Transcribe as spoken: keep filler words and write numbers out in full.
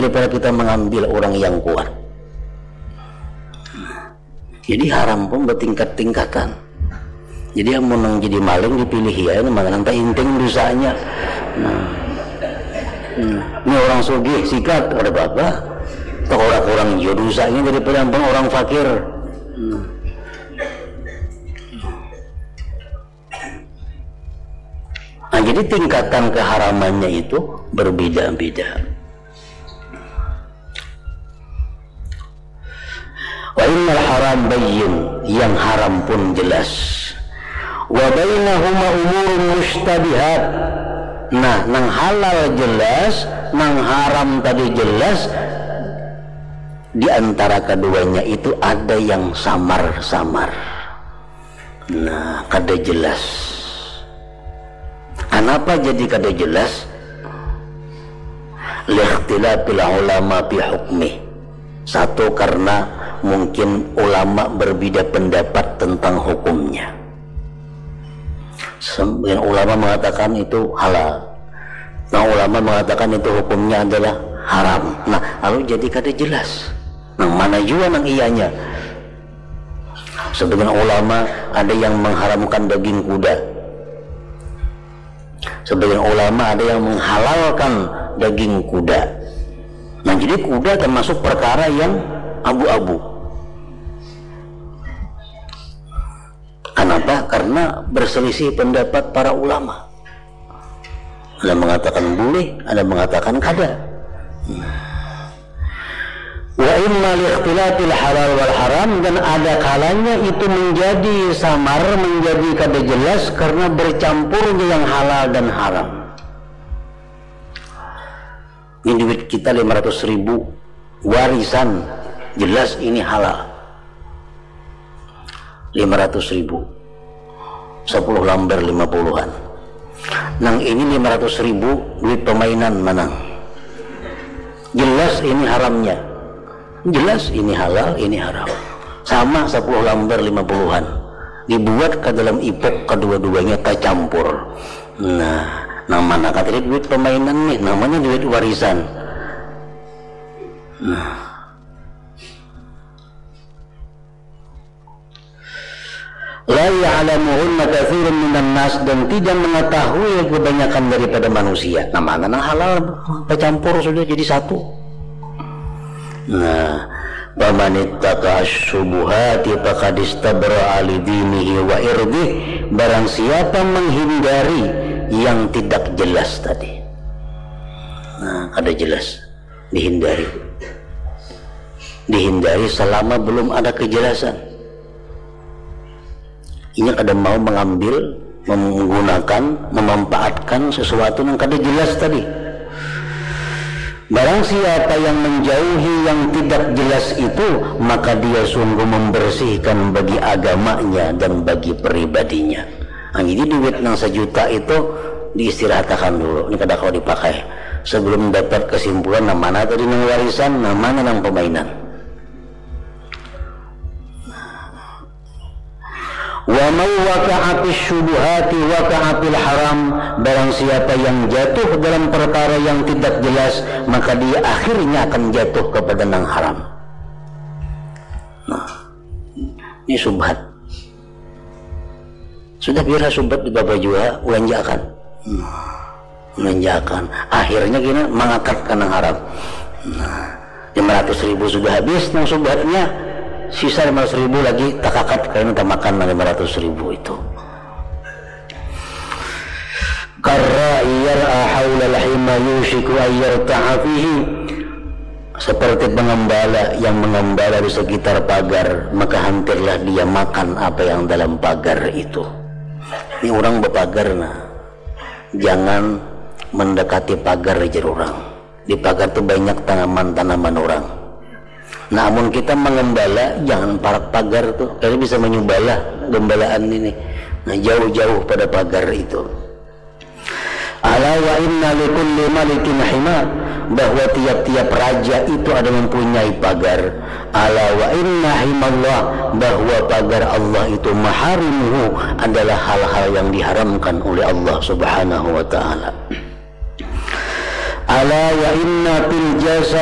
daripada kita mengambil orang yang kuat. Jadi haram pun bertingkat-tingkatan. Jadi amun nang jadi maling dipilih ya, ini mana nang inting dosanya. Nah. Hmm. Ini orang sugih sikat, ada apa-apa. Atau orang kurang jua dosanya daripada ampun orang fakir. Hmm. Nah, jadi tingkatan keharamannya itu berbeda-beda. Wa innal haram bayyin, yang haram pun jelas. Wa bainahuma umurun mustabihat. Nah, nang halal jelas, nang haram tadi jelas. Di antara keduanya itu ada yang samar-samar. Nah, kada jelas. Kenapa jadi kada jelas? Likhtilafil ulama fi hukmi. Satu, karena mungkin ulama berbeda pendapat tentang hukumnya. Sebagian ulama mengatakan itu halal. Nah, ulama mengatakan itu hukumnya adalah haram. Nah, lalu jadi kada jelas. Nah, mana jua nang iyanya? Sebagian ulama ada yang mengharamkan daging kuda. Sebagian ulama ada yang menghalalkan daging kuda. Nah, jadi kuda termasuk perkara yang abu-abu. Kenapa? Karena berselisih pendapat para ulama. Ada mengatakan boleh, ada mengatakan kada. Wa imma likhtilafil halal wal haram, dan ada kalanya itu menjadi samar, menjadi kada jelas karena bercampurnya yang halal dan haram. Ini duit kita lima ratus ribu warisan, jelas ini halal. Lima ratus ribu, sepuluh lambar lima puluhan. Nang ini lima ratus ribu duit pemainan manang. Jelas ini haramnya. Jelas ini halal, ini haram. Sama sepuluh lambar lima puluhan. Dibuat ke dalam ipuk kedua-duanya tercampur. Nah, nang mana kah tadi duit pemainan nih, namanya duit warisan. Nah. La ya'lamuhunna katsirun minan nas, dan tidak mengetahui kebanyakan daripada manusia. Nah, mana nang halal bercampur sudah jadi satu. Nah, faman ittaqa syubuhati faqad istabra'a li dinihi wa irdih. Barang siapa menghindari yang tidak jelas tadi. Nah, kada jelas, dihindari. Dihindari selama belum ada kejelasan. Inya kada mau mengambil, menggunakan, memanfaatkan sesuatu yang kada jelas tadi. Barang siapa yang menjauhi yang tidak jelas itu, maka dia sungguh membersihkan bagi agamanya dan bagi pribadinya. Nah, jadi duit nang sejuta itu diistirahatakan dulu, ini kada kawa dipakai. Sebelum dapat kesimpulan, nang mana tadi nang warisan, nang mana nang pemainan. Wa man waqa'a fis syubuhati waqa'a fil haram. Barang siapa yang jatuh dalam perkara yang tidak jelas, maka dia akhirnya akan jatuh kepada nang haram. Nah, ini subhat. Sudah biar subhat di bapa jua, ulanjakan. Nah, ulanjakan. Akhirnya gini, mangakat ka nang haram. Nah, lima ratus ribu sudah habis nang subhatnya, sisa lima ratus ribu lagi takakat, kayaknya tamakan nang lima ratus ribu itu. Karra'i yar'a haulal hima yushiku ayyarta'a fihi. Seperti pengembala yang mengembala di sekitar pagar, maka hampirlah dia makan apa yang dalam pagar itu. Ini orang berpagar, nah, jangan mendekati pagar, jar orang. Di pagar tu banyak tanaman-tanaman orang. Nah, amun kita mengembala, jangan parak pagar tu, karena bisa menyubalah gembalaan ini. Nah, jauh-jauh pada pagar itu. Ala wa inna likulli malikin hima, bahwa tiap-tiap raja itu ada mempunyai pagar. Ala wa inna himallah, bahwa pagar Allah itu, maharimuhu, adalah hal-hal yang diharamkan oleh Allah Subhanahu wa taala. Ala wa inna fil jasad